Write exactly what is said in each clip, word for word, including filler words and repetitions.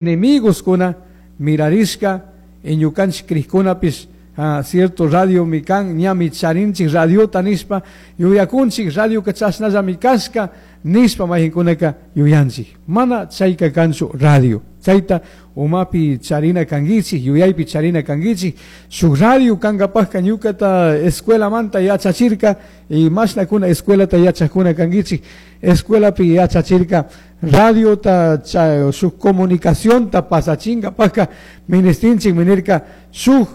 Enemigos kuna mirarishka y ñukanchik crijkunapis ah, cierto radio mi kan ñami charinchik radiota nishpa yuyakunchik, radioka chashnallami kashka nishpa mayqinkunaka yuyanchik. Mana chayka kanchu radio. Chayta umapi charina kankichik, yuyaypi charina kankichik. Shuk radio kankapajka ñukata escuelamanta yachachirka y mashnakuna escuelata yachakuna kankichik, escuelapi yachachirka radiota shuk comunicacionta pasachinkapajka ministinchik minirka shuk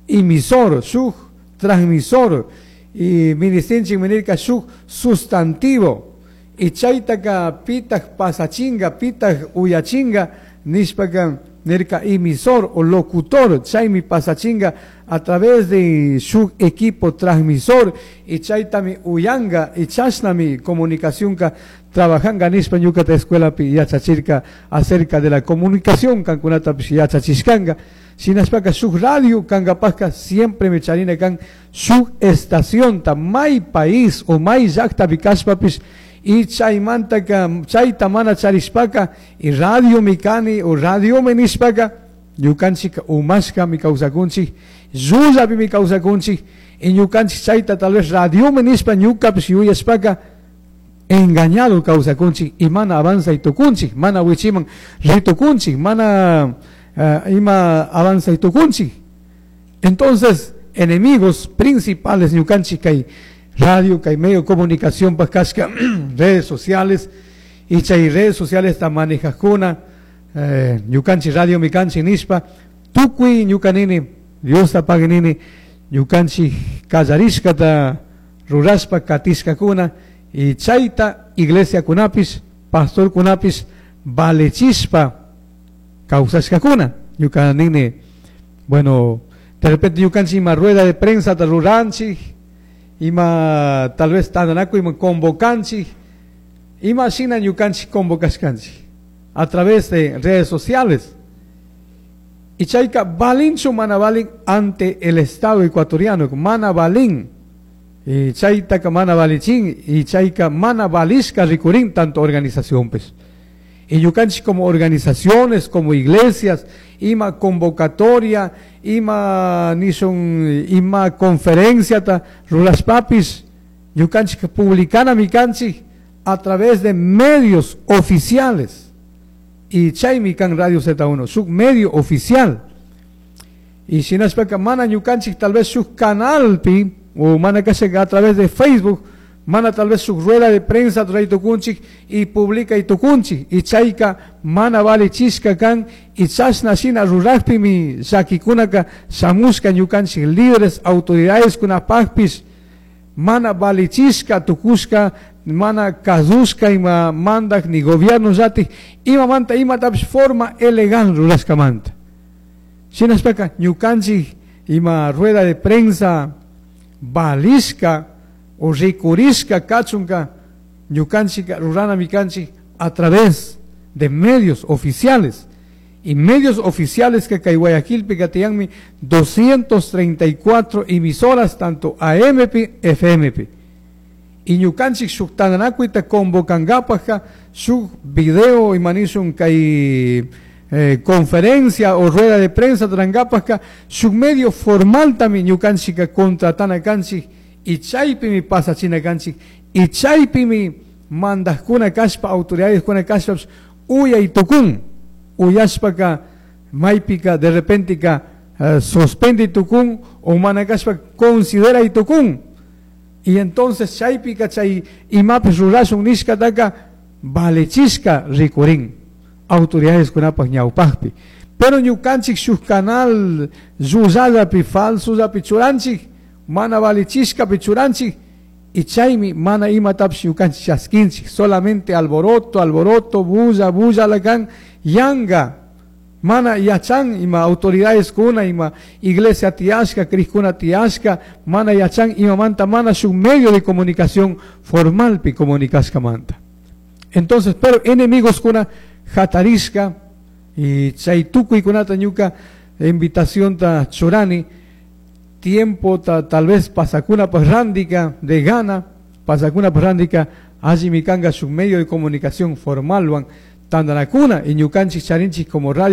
emisor, shuk transmisor y ministinchik minirka shuk sustantivo y chaytaka pitaj pasachinga, pitaj uyachinga nishpaka nirka emisor o locutor, chaymi pasachinga a través de su equipo transmisor y chaytami uyanga y chashnami comunicacionka trabajanga nishpa ñukata escuelapi yachachirka acerca de la comunicación kankunatapish yachachishkanga. Shinashpaka shuk radio kankapajka siempre mi charina kan shuk estacionta may país o may llaktapi kashpapish y chaymantaka chayta mana charishpaka y radio mi kani o radio mi nishpaka ñukanchik umashkami kawsakunchik, llullapimi kawsakunchik y ñukanchik chayta tal vez radio mi nishpa ñukapish yuyashpaka engañado kawsakunchik y mana avanzay tukunchik, mana wichiman ritukunchik, mana uh, ima avanzay tukunchik. Entonces, enemigos principales ñukanchik kay radio, kay medio de comunicación kashka redes sociales y chay redes sociales ta manejajkuna eh, ñukanchik radio mikanchik nishpa tukuy ñukanini Diosta pagui nini ñukanchik kallarishkata rurashpa katishkakuna y chayta iglesia kunapis pastor kunapis valechishpa kawsashkakuna. Ñukanini, bueno, de repente ñukanchik ima rueda de prensa ta ruranchik, ima tal vez tantanakuy ima convocanchik, ima shina ñukanchik convocashkanchik a través de redes sociales. Y chayka valinchu mana valin ante el Estado ecuatoriano, mana valin. Y chaytaka mana valichin y chayka mana valishka rikurin tanto organización pues. Y ñukanchik como organizaciones, como iglesias, ima convocatoria, ima nishun, ima conferencia ta rurashpapis, ñukanchik publicana mikanchik a través de medios oficiales. Y chaymi kan Radio Z uno, shuk medio oficial. Y shinashpaka mana ñukanchik tal vez shuk canalpi, o mana kasha a través de Facebook, mana tal vez su rueda de prensa trae tukunchik y publica y tukunchik y chayka mana vale chishka kan y chashna shina rurajpimi llakikunaka shamushka ñukanchik líderes autoridades kunapajpis mana vale chishka tukushka mana kazushka ima mandak ni gobierno llatik ima manta ima tapish forma elegan rurashkamanta. Shinashpaka ñukanchik ima rueda de prensa valishka o rikurishka kachunka ñukanchik rurana mikanchik a través de medios oficiales. Y medios oficiales que kay Guayaquilpi katiyanmi doscientas treinta y cuatro emisoras tanto A M P, F M P. Y ñukanchik shuk tantanakuyta convocankapajka shuk video imanishun kay, eh, conferencia o rueda de prensa trankapajka shuk medio formal tami ñukanchika contratana kanchik y chaypimi pasachina kanchik y chaypimi mandajkuna kashpa autoridades kuna kashpa uyay tukun uyashpaka maypika de repente ka, eh, suspende tukun o mana kashpa considera y tukun y entonces chaypika chay imapis rurashun nishkataka valechishka rikurin autoridades kunapaj ñawpajpi. Pero ñukanchik shuk canal llullallapi falsollapi churanchik mana valichishkapi churanchik y chaymi mana imatapish ñukanchik chaskinchik solamente alboroto, alboroto, bulla, bulla lakan yanga mana yachan ima autoridades kuna ima iglesia tiyashka crijkuna tiyashka mana yachan imamanta mana shuk medio de comunicación formalpi comunicashkamanta. Entonces, pero enemigos kuna hatarishka y chay tukuykunata ñuka invitación ta churani tiempo ta, tal vez pasakuna parrandika de gana pasakuna parrandika allí mikanga su medio de comunicación formal wan Tandanacuna y ñukanchik charinchik como radio